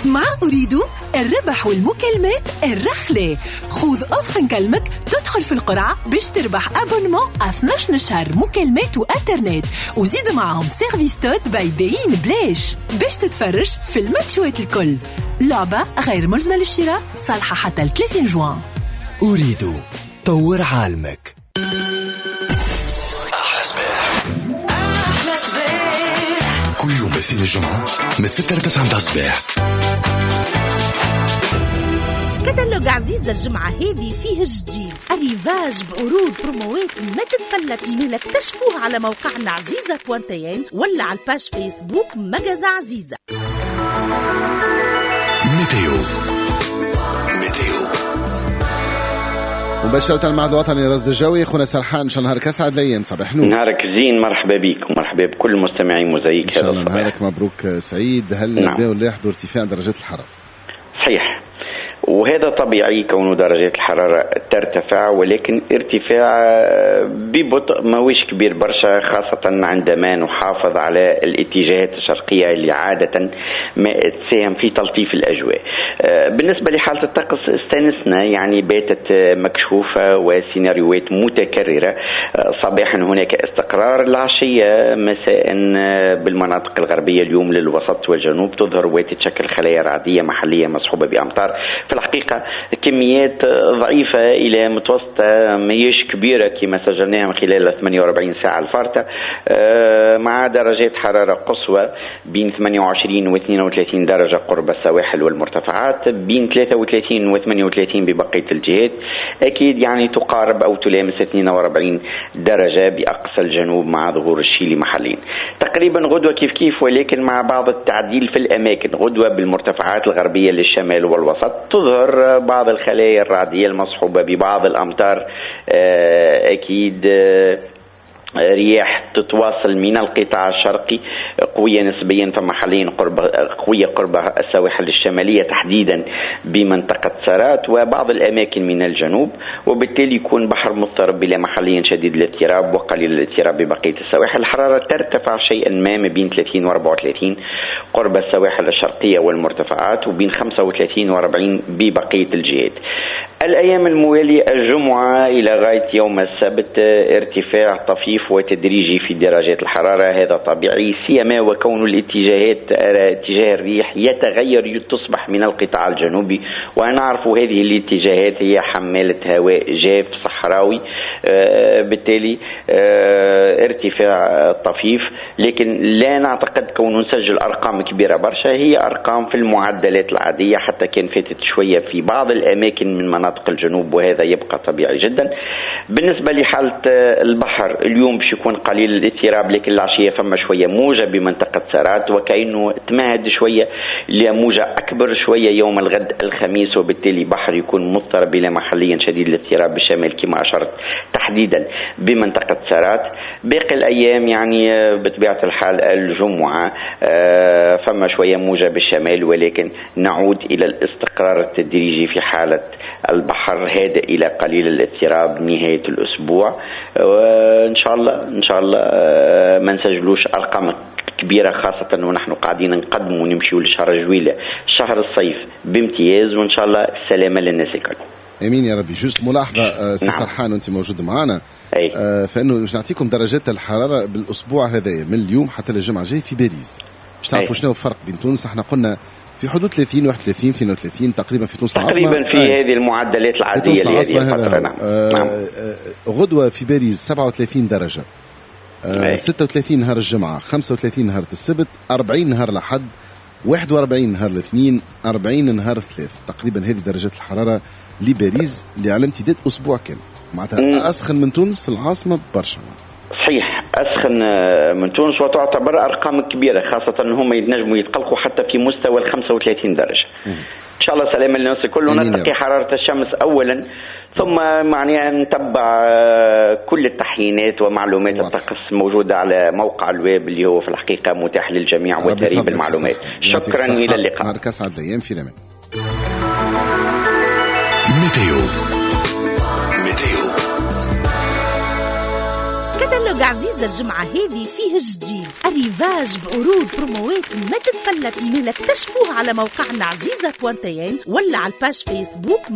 مع أريد الربح والمكالمات الرحلة. خذ offre نكلمك تدخل في القرعة باش تربح abonnement 12 شهر مكالمات وانترنت، وزيد معهم service TOD by beIN بلاش باش تتفرج في الماتشوات الكل. لعبة غير ملزمة للشراء، صالحة حتى 30 جوان. أريد طور عالمك. أحلى صباح، أحلى صباح كل يوم الاثنين الجمعة من 6 ل 9 متاع الصباح. كتالوج عزيزة الجمعة هذه فيه الجديد، arrivage بعروض بروموات ما تتفلتش، مالا اكتشفوه على موقعنا عزيزة point tn ولا على ال page Facebook magasin عزيزة. météo météo مباشرة المعهد الوطني للرصد الجوي، خونا سرحان، شو نهارك أسعد الأيام، صباح نور. نهارك زين، مرحبا بك ومرحبا بكل مستمعي موزايك. إن شاء الله نهارك مبروك سعيد. هل نبداو نلاحظوا ارتفاع درجات الحرارة؟ صحيح، وهذا طبيعي كون درجات الحرارة ترتفع، ولكن ارتفاع ببطء ماهوش كبير برشا، خاصة عندما نحافظ على الاتجاهات الشرقية اللي عادة ما تساهم في تلطيف الأجواء. بالنسبة لحالة الطقس استانسنا، يعني باتت مكشوفة وسيناريوهات متكررة. صباحا هناك استقرار، العشية مساء بالمناطق الغربية اليوم للوسط والجنوب تظهر وتتشكل خلايا رعدية محلية مصحوبة بأمطار. في الحقيقة كميات ضعيفة إلى متوسطة، ماهيش كبيرة كما سجلناها من خلال 48 ساعة الفارطة، مع درجات حرارة قصوى بين 28 و 32 درجة قرب السواحل والمرتفعات، بين 33 و 38 ببقية الجهات. أكيد يعني تقارب أو تلامس 42 درجة بأقصى الجنوب مع ظهور الشيلي محليا. تقريبا غدوة كيف كيف، ولكن مع بعض التعديل في الأماكن. غدوة بالمرتفعات الغربية للشمال والوسط تظهر بعض الخلايا الرعدية المصحوبة ببعض الأمطار، أكيد رياح تتواصل من القطاع الشرقي قوية نسبيا، فما حاليا قوية قرب السواحل الشمالية تحديدا بمنطقة سارات وبعض الأماكن من الجنوب، وبالتالي يكون بحر مضطرب بلا محليا شديد الاضطراب وقليل الاضطراب ببقية السواحل. الحرارة ترتفع شيئا ما بين 30 و 34 قرب السواحل الشرقية والمرتفعات، وبين 35 و 40 ببقية الجهات. الأيام الموالية الجمعة إلى غاية يوم السبت ارتفاع طفيف وتدريجي في درجات الحرارة، هذا طبيعي سيما وكون الاتجاهات اتجاه الريح يتغير تصبح من القطاع الجنوبي، ونعرف هذه الاتجاهات هي حمالة هواء جاف صحراوي، بالتالي ارتفاع طفيف، لكن لا نعتقد كون نسجل أرقام كبيرة برشا، هي أرقام في المعدلات العادية، حتى كان فاتت شوية في بعض الأماكن من مناطق الجنوب، وهذا يبقى طبيعي جدا. بالنسبة لحالة البحر اليوم باش يكون قليل الاضطراب، لكن العشية فما شوية موجة بمنطقة سارات، وكأنه تمهد شوية لموجة أكبر شوية يوم الغد الخميس، وبالتالي بحر يكون مضطرب إلى محليا شديد الاضطراب بالشمال كما أشرت تحديدا بمنطقة سارات. باقي الأيام يعني بطبيعة الحال الجمعة فما شوية موجة بالشمال، ولكن نعود إلى الاستقرار التدريجي في حالة البحر هادئ إلى قليل الاضطراب نهاية الأسبوع. إن شاء الله إن شاء الله ما نسجلوش أرقام كبيرة، خاصة ونحن قاعدين نقدم ونمشيو لشهر جويلة شهر الصيف بامتياز، وإن شاء الله السلامة للناس الكل. امين يا ربي. juste ملاحظة سي سرحان وانت موجود معنا، فانه باش نعطيكم درجات الحرارة بالاسبوع هذايا من اليوم حتى للجمعة الجاي في باريس، باش تعرفوا شنو الفرق بين تونس. احنا قلنا في حدود 30 31 32 تقريبا في تونس العاصمة، تقريبا في هذه المعدلات العادية لهذه الفترة. نعم. نعم. غدوه في باريس 37 درجه، 36 نهار الجمعة، 35 نهار السبت، 40 نهار الاحد، 41 نهار الاثنين، 40 نهار الثلاث. تقريبا هذه درجات الحرارة لباريس اللي على امتداد اسبوع كامل، معناتها اسخن من تونس العاصمة برشا. صحيح أسخن من تونس، وتعتبر أرقام كبيرة، خاصة أنهم ينجموا يتقلقوا حتى في مستوى 35 درجة. إن شاء الله سلام للناس الكل، ونتقي حرارة الشمس أولا، ثم معناها نتبع كل التحيينات ومعلومات الطقس موجودة على موقع الويب اللي هو في الحقيقة متاح للجميع وثري بالمعلومات. شكرا، إلى اللقاء. نهارك أسعد الأيام، في الأمان. météo météo كتالوج كتالوج عزيزة الجمعة هذه فيه جديد، arrivage بعروض بروموات ما تتفلتش. مالا اكتشفوه على موقعنا عزيزة point tn ولا على ال page Facebook.